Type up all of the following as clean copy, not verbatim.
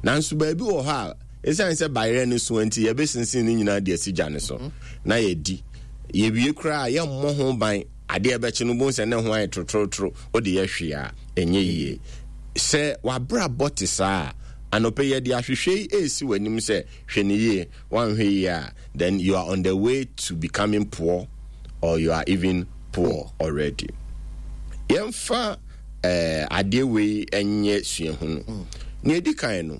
Nanso baabi wɔ hɔ a, ɛsiane sɛ bayerɛ no so nti, yɛbɛsinsin ne nyinaa de asi gya no so mhm. na yɛdi. Yɛwie koraa a, yɛmmɔ ho ban. Adeɛ bɛkye no, bohu sɛ ne ho ayɛ torotoro, wode yɛ hwee a, ɛnyɛ yie. Sɛ w'abrabɔ te saa a, anɔpɛ yɛde ahwehwɛ yi ɛresi w'anim sɛ hwɛ ne yie, woanhwɛ yie a, then you are on the way to becoming poor or you are even poor already. Yɛmfa eh, adeɛ wei nyɛ suahunu. Mm. Nea ɛdi kan no,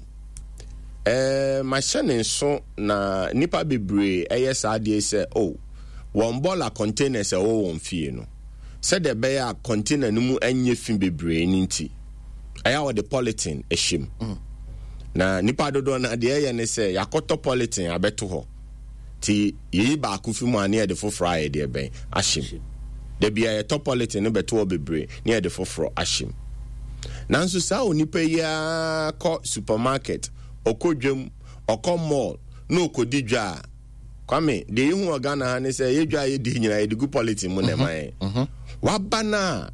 eh, mahyɛ ne nso na nnipa bebree ɛyɛ saa adeɛ sɛ oh, wɔn bɔɔla containers ɛwɔ wɔn fie no sɛdeɛ ɛbɛyɛ a container no mu nyɛ fi bebree no nti ɛyɛ a wɔde polythene hyɛ mu. Mm. Na nipa dodoɔ no deɛ ɛyɛ ne sɛ yɛakɔtɔ polythene abɛto hɔ nti yɛyi baako fi mu a ne yɛde foforɔ a yɛde ɛbɛn ahyɛ mu. Da bia yɛtɔ polythene no bɛto hɔ bebree ne yɛde foforɔ ahyɛ mu. Nanso saa onipa yi ara kɔ supermarket, ɔkɔ dwam, ɔkɔ mall na ɔkɔdi dwa a, Kwame, deɛ yɛhu wɔ Ghana ha ne sɛ yɛ dwa a yɛdi nyinaa yɛde gu polythene mu na ɛma yɛn. Mhm, mhm. Waba no a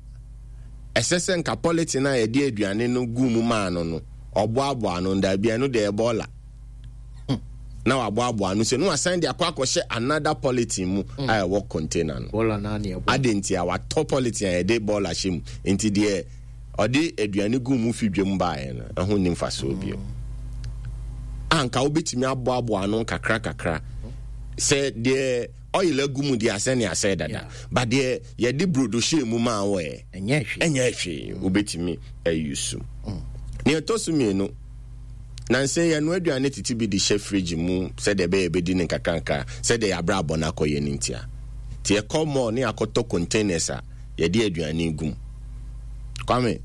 ɛsɛ sɛ nka polythene a yɛde aduane no gu mu maa no no, ɔboaboa ano daabi ɛno deɛ ɛbɔɔla. Hmm. Na waboaboa ano sɛ no wasan de akɔ akɔhyɛ another polythene mu hmm. a ɛwɔ container no. Ade nti a watɔ polythene a yɛde bɔɔla hyɛ mu nti deɛ ɔde aduane gu mu fi dwam baeɛ no ɛho nni mfasoɔ bio. Anka wobɛtumi aboaboa ano nkakra kakra sɛ deɛ oil agu mu deɛ asɛ ne asɛ dada ba deɛ yɛde brodo hyɛɛ mu maa wɔ ɛ ɛnyɛ hwee wobɛtumi ayi so. Mm. Nea ɛtɔ so mmienu, nansa yi yɛnoa aduane tete bi de hyɛ fridge mu sɛdeɛ ɛbɛyɛ yɛbɛdi no nkakrankra sɛdeɛ yɛabrabɔ no akɔyɛ no ntia. Nti yɛkɔ mall ne yɛakɔtɔ containers a yɛde aduane gu mu. Kwame,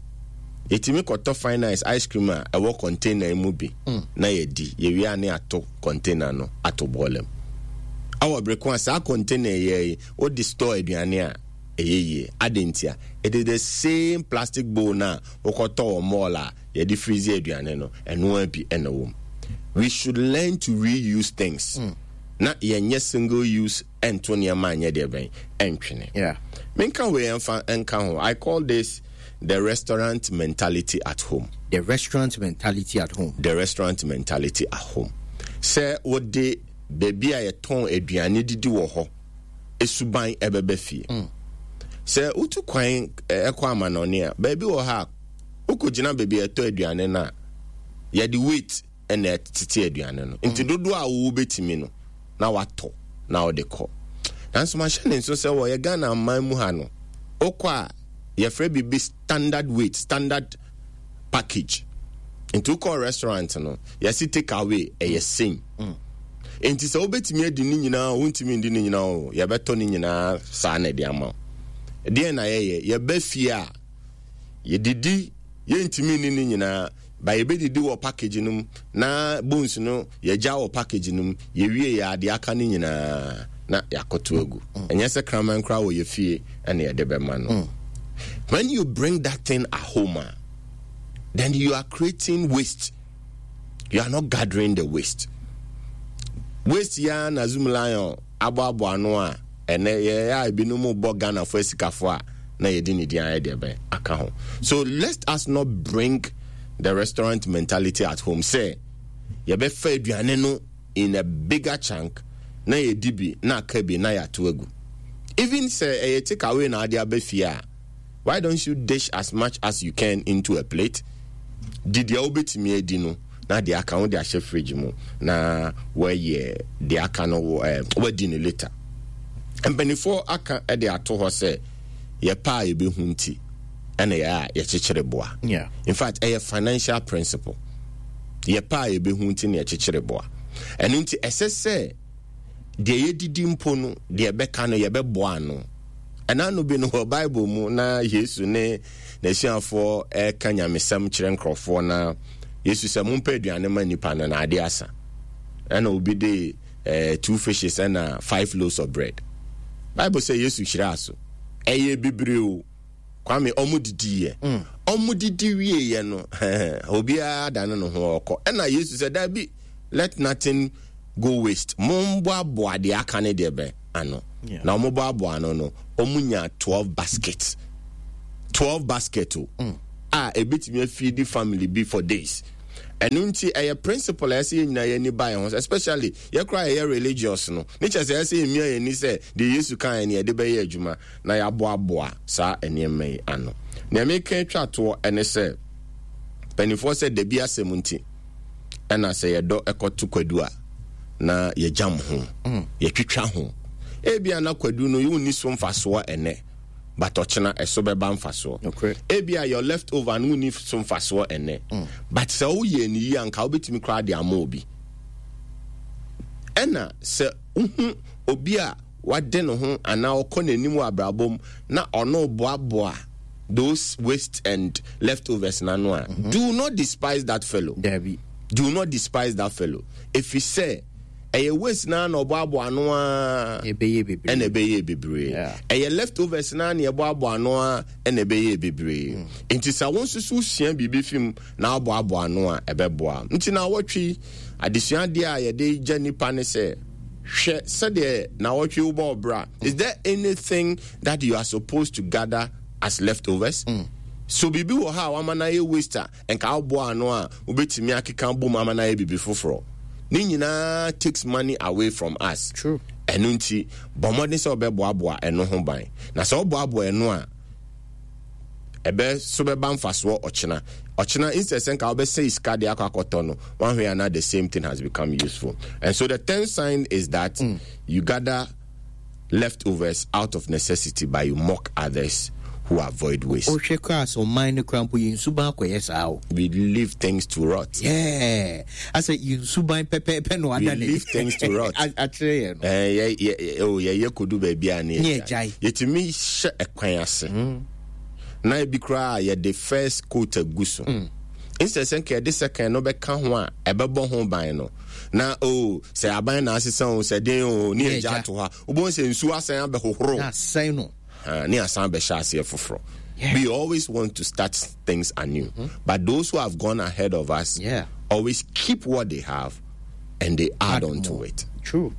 yɛtumi kɔtɔ fine ice ice cream a ɛwɔ container mu bi mm. na yɛdi. Yɛwie a ne ato container no ato bɔɔla mu. Awɔ bere ko a saa container yɛ yi, wode store aduane a ɛyɛ yie. Adɛn ntia? It is the same plastic bowl no a wokɔtɔ wɔ mall a yɛde freeze aduane no, ɛno ara bi na ɛwɔ mu. We should learn to reuse things. Mm. Na yɛnyɛ single use ɛnto nneɛma anyɛ deɛ bɛn ɛntwene. Yeah. Menka wei ɛmfa nka ho. I call this the restaurant mentality at home. The restaurant mentality at home. The restaurant mentality at home. Sɛ wode baabi a yɛtɔn aduane didi wɔ hɔ suban ɛbɛba fie. Mm. Sɛ wotu kwan ɛkɔ amanɔne a, baabi wɔ hɔ a wokɔgyina baabi a ɛtɔ aduane no a, yɛde weight ɛna ɛtete aduane no. Nti mm. dodoɔ a wobɛtumi no na watɔ na wode kɔ. Nanso mahyɛ ne nso sɛ wɔyɛ Ghana aman mu ha no, wokɔ a yɛfrɛ biribi standard weight, standard package. Nti wokɔ restaurant no, yɛse take away ɛyɛ same. Mm. Nti sɛ wobɛtumi adi ne nyinaa o, wontumi ndi ne nyinaa o, yɛbɛtɔ ne nyinaa saa na ɛde ama wo. Deɛn na yɛyɛ? Yɛba fie a, yɛdidi, yɛntumi nni ne nyinaa, ba yɛbɛdidi wɔ package no mu, na bones no yɛgya wɔ package no mu, yɛwie yɛ adeɛ aka no nyinaa na yɛakɔto agu. Mm. Ɛnyɛ sɛ kraman koraa wɔ yɛ fie ɛna yɛde bɛma no. Mm. When you bring that thing at home, ah, then you are creating waste. You are not gathering the waste. Waste ya na Zoom Lion aboaboa ano a ɛnɛ yɛyɛ a ebinom bɔ Ghanafo asikafo a na yɛde ne din ayɛ deɛ bɛn aka ho. So let us not bring the restaurant mentality at home. Sɛ yɛbɛfa aduane no in a bigger chunk na yɛdi bi na aka bi na yɛato agu. Even sɛ ɛyɛ take away na ade aba fie a, why don't you dish as much as you can into a plate? Di deɛ wobɛtumi adi no na deɛ aka wode ahyɛ fridge mu na wɔayɛ deɛ aka no eh, wadi no later. Mpanimfoɔ aka de ato hɔ sɛ yɛpɛ a yɛbɛhu nti ɛna yɛ a yɛkyekyere boa. Yeah. In fact, ɛyɛ financial principle. Yɛpɛ a yɛbɛhu nti na yɛkyekyere boa. Ɛno nti ɛsɛ sɛ deɛ yɛdidi mpo no, deɛ ɛbɛka no yɛbɛboa ano. Ɛna ano bi no wɔ Bible mu na Yesu ne n'asuafoɔ ɛreka nyamesɛm kyerɛ nkurɔfoɔ na Yesu sɛ mompɛ aduane ma nnipa no na adeɛ asa. Ɛna obi de eh, two fishes ɛna five loaves of bread. Bible sɛ Yesu hyiraa so. Ɛyɛ bebree o. Kwame, ɔmo didiiɛ. Mm. Ɔmo didi wieɛ no, obiara dane ne ho ɔkɔ. Ɛna Yesu sɛ, daabi, let nothing go waste. Momboaboa deɛ aka ne deɛ bɛ ano. Yeah. Na ɔmo boaboa ano no, ɔmo nya 12 baskets. 12 basket o. Mm. A ebetumi afeedi family bi for days. Ɛno nti ɛyɛ principle a ɛsɛ yɛn nyinaa yɛn ani ba yɛn ho especially yɛ koraa yɛyɛ religious no. Ne kyerɛ sɛ ɛsɛ yɛmia yɛn ani sɛ deɛ Yesu kaeɛ no yɛde bɛyɛ adwuma na yɛaboaboa saa nneɛma yi ano. Nea meka atwa toɔ ne sɛ mpanimfoɔ sɛ dabi asɛm nti ɛna sɛ yɛdɔ ɛkɔto kwadu a na yɛgyam ho, mm. yɛtwitwa ho. Ebia na kwadu no wonni so mfasoɔ ɛnɛ but ɔkyena ɛso bɛba mfasoɔ. Ebia your left over no wonni so mfasoɔ ɛnɛ mm. but sɛ woyɛ ne yie anka wobɛtumi koraa de ama obi. Ɛna sɛ wohu obi a wade ne ho anaa ɔkɔ n'anim wɔ abrabɔ mu na ɔno boaboa those waste and leftovers n'ano a mm-hmm. do not despise that fellow. Dabi. Do not despise that fellow. Ɛfiri sɛ ɛyɛ waste naa na ɔboaboa ano ara ɛna ɛbɛyɛ bebree. Ɛyɛ leftovers naa na ɛboaboa ano ara ɛna ɛbɛyɛ bebree. Mm. Nti sɛ wo nso so sua biribi fi mu na aboaboa ano a ɛbɛboa. Nti na awɔtwe adesua adeɛ a yɛde gya nipa ne sɛ hwɛ sɛdeɛ na awɔtwe wobɔ ɔbra. Is there anything that you are supposed to gather as leftovers? Mm. So biribi wɔ hɔ a wama no ayɛ waste a nka woboa ano a wobɛtumi akeka bom ama no ayɛ biribi foforɔ. Ne nyinaa takes money away from us. True. Ɛno nti bɔ mmɔden sɛ wobɛboaboa ɛno ho ban. Na sɛ woboaboa ɛno a ɛbɛ so bɛba mfasoɔ ɔkyena. Ɔkyena instead sɛ nka wobɛsɛe sika de akɔ akɔtɔ no, wanhwɛ ana the same thing has become useful. And so the tenth sign is that mm. you gather leftovers out of necessity but you mock others who avoid waste. Wohwɛ koraa sɛ ɔman no koraa mpo yɛn suban akɔyɛ saa o. We leave things to rot. Yeah. Asɛ yɛn suban pɛpɛɛpɛ na wada ne. We leave things to rot. Akyerɛ yɛn no. Eh, yɛ yɛ oh yɛyɛ kodu baabi a ne yɛgyae. Yɛtumi hyɛ ɛkwan ase. Mm. Na ebi koraa yɛde first coat agu so. Mm. Instead sɛ nka yɛde second no bɛka ho a ɛbɛbɔ ho ban no. Na oh sɛ aban na asesa o sɛ den o ne yɛgya ato hɔ a wobɛhu sɛ nsuo asan abɛhohoro. Na asɛn no. Ne asan bɛhyɛ aseɛ foforɔ. We always want to start things anew. Mm-hmm. But those who have gone ahead of us yeah. always keep what they have and they add, add on to it. True.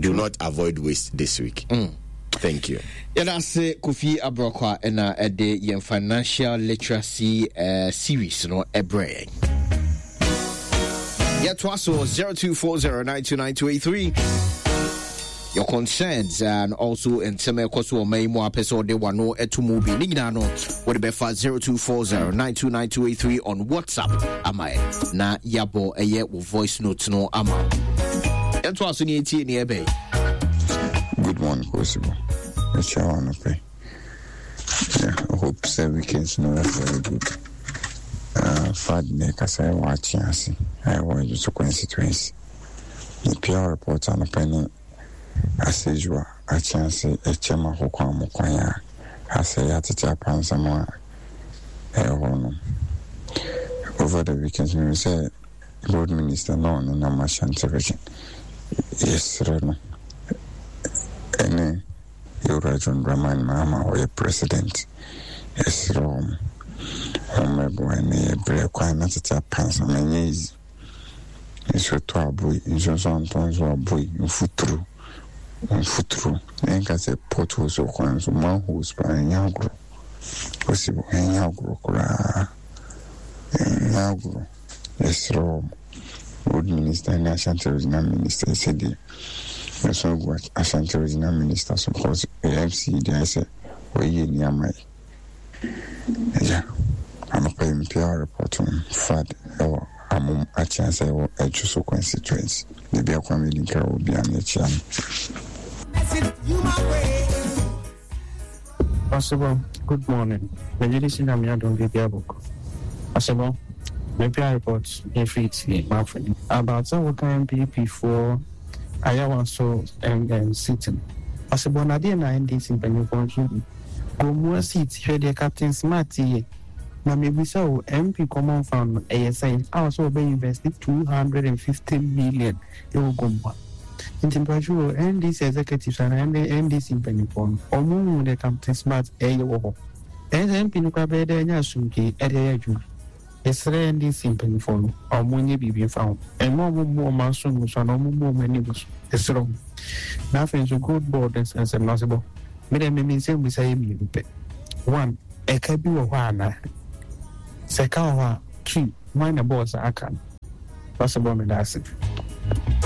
Do True. not avoid waste this week. Mm. Thank you. Yɛda ase Kofi Abrɔkwa ɛna ɛde yɛn financial literacy uh, series no ɛbrɛ yɛn. Yɛtoa so 0240929283 your concerns and also nsɛm ɛkɔ so ɔman yi mu apɛ sɛ ɔde wano ɛto mu bi ne nyinaa no wode bɛfa 0240929283 on whatsapp ama ɛ na yɛabɔ ɛyɛ wo voice note no ama yɛnto aso ne ɛtie ne ɛbɛn. Good morning, Kosibo. Mekyia wo anɔpɛ. Yeah, I hope sɛ weekends no yɛ very good. Uh, Fad na ɛkasa ɛwɔ akye ase a ɛwɔ Adwoso constituency. Mepia report anɔpɛ ne asɛdwua akye ase ɛkyɛm akokɔ a mo kwan a asɛ yɛatete apansam a ɛwɔ hɔ no. Over the weekends, mehu sɛ Road Minister na ɔne nam Ashanti region. Yɛsrɛ no ɛne Yɛwura John Dramani Mahama a ɔyɛ President. Yɛsrɛ wɔn, wɔn mmɛboa yɛn na yɛbrɛ kwan na tete apansam ɛnyɛ easy. Nsuo tɔ aboi, nsuo nso antɔ nso aboi, mfuturo, mfuturo. Yɛnka sɛ potholes wɔ kwan so, manholes paa ɛnyɛ agorɔ. Possible, ɛnyɛ agorɔ koraa, ɛnyɛ agorɔ. Yɛsrɛ wɔn, Road Minister ne Ashanti Regional Minister sɛdeɛ yɛsɔ agu Ashanti Regional Minister so because MC deɛ ayɛ sɛ ɔyɛ yɛn ni ama yɛ. Agya, anɔpa yi mepia report no flood ɛwɔ Amom Akyea sɛ ɛwɔ Adwoso constituency. Baabi a Kwame Dinkra wɔ biara no yɛkyea no. Ɔsebɔ, good morning. Megye di sɛ Nyame adom biribiara bɔkɔ. Ɔsebɔ, mepɛ report ɛfiri tie mafo ni about sɛ woka NPP foɔ Ayawaso ɛm seat no. Ɔsebɔ na deɛ na NDC mpanyinfoɔ nso di Gomoa seat hwɛ deɛ Captain Smart yɛ. Na mebisa o MP common fund no ɛyɛ sɛn a ɔsɛ ɔbɛ invest 250 million ɛwɔ Gomoa. Nti mpakyɛw o, NDC executives anaa NDC mpanyinfoɔ no, ɔmo hu deɛ Captain Smart ɛyɛ wɔ hɔ? Ɛyɛ sɛ MP no koraa bɛyɛ dɛ anya asomdwee ɛde ayɛ adwuma. Yɛsrɛ NDC mpanyinfoɔ no, ɔmo nyɛ biribi mfa ho. Mma ɔmo mmu ɔmo aso ngu so anaa ɔmo mmu ɔmo ani ngu so. Yɛsrɛ ɔmo. Na afei nso gold board nsɛnsɛm no ase bɔ. Me deɛ me me nsɛmmisa yɛ mmienu pɛ. One, ɛka bi wɔ hɔ anaa? Sɛ ɛka wɔ hɔ a, two. Hwan na ɛbɔɔ saa ka no? Pastor Bɔ meda ase.